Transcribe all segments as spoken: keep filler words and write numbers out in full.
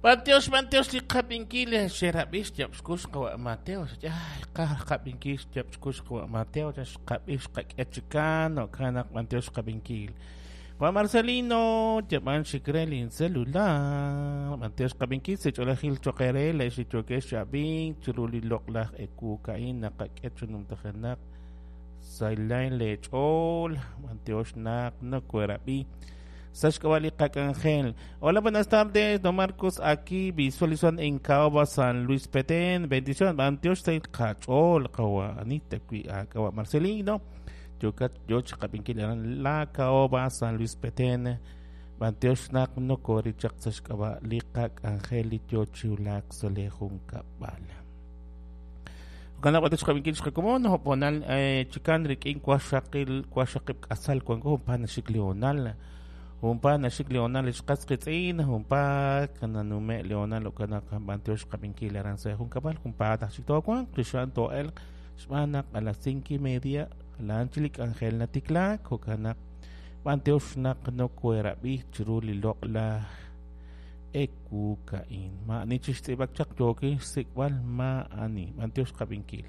B'antiox, b'antiox li qab'inkil xerab'ix xyab'xkux qawa' Mateo. Ay, qab'inkil xyab'xkux qawa' Mateo, xqab'ix qak'e chikan, jo'kan naq b'antiox qab'inkil. Juan Marcelino, yab'an xikre lin celular. B'antiox qab'inkil sech'olajil choqere le xichokex xab'in chiru li loq'laj ekukain naqak'e chunumtajenaq saylain lech'ol b'antiox naq nokuerab'i. Sashkawali Angel. Hola, buenas tardes, don Marcos, aquí visualizan en Caoba, San Luis Petén. Bendición, b'antiox say qach'ol qawa Anita kwi qawa Marcelino. Yokat yoch qab'inkil aran la Caoba, San Luis Petén. B'antiox naq nokori chaq sashk'awa li qak Angel yochiulak sole jun kab'al. Kana b'antiox qab'inkil xqakomon hoponal chikan rik'in kwaxaqil kwaxaqib k'asal kwanko humpa naxik leonal. Humpa naxik leonal xqas qitz'in humpa kananume leonal okana b'antiox qab'inkil aran sa jun kab'al humpa taxik to'wan qixan to'el xb'anaq a las cinco y media lanchilik Angel natiklak jo'kanaq b'antiox naq nokuerab'i chiru li loq'laj ekukain ma'ani chixtz'ib'ak chaq yokin xsik'b'al ma'ani b'antiox qab'inkil.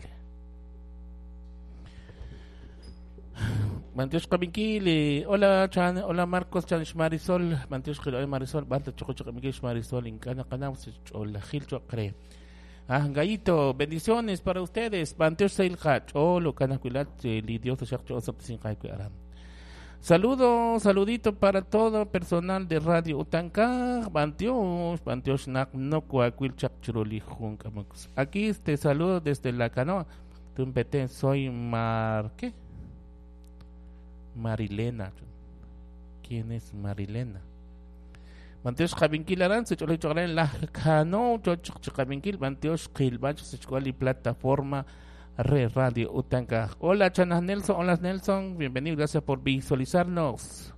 B'antiox qab'inkil. Hola Chan, hola Marcos Chan Marisol, b'antiox qil'oy Marisol, b'alta choqo choq'ab'inkil Marisol ink'ana qanaw ch'olajil choqre. Ah, Gallito, bendiciones para ustedes. B'antiox sayl qach'ol okanakuilat li Dios taxaq ch'osap sin aram. Saludo, saludito para todo personal de Radio Utankaj, b'antiox, b'antiox naq nokuakuil chaq chiruli jun k'amukus. Aquí te saludo desde la canoa. Tumpeten, soy Mar, ¿qué? Marilena. ¿Quién es Marilena? B'antiox qab'inkil aran sech'olej choqren la canoa choch qab'inkil b'antiox qilb'ach sech'kual plataforma re Radio Utankaj. Hola Chanas Nelson, hola Nelson, bienvenido, gracias por visualizarnos.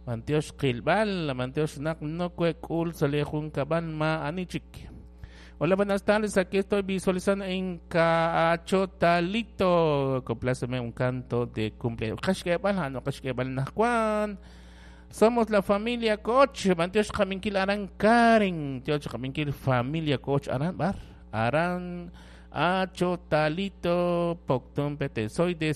B'antiox qilb'al, b'antiox naq nokuek'ul sale jun kab'al ma anichik. Hola, buenas tardes, aquí estoy visualizando en Cachotalito. Compláceme un canto de cumpleaños. Kashkebal, no kashkebal najkuan. Somos la familia Coach. B'antiox qab'inkil aran Karen. Tiox qab'inkil familia Coach aran bar. Aran Achotalito Poctum Pete. Soy de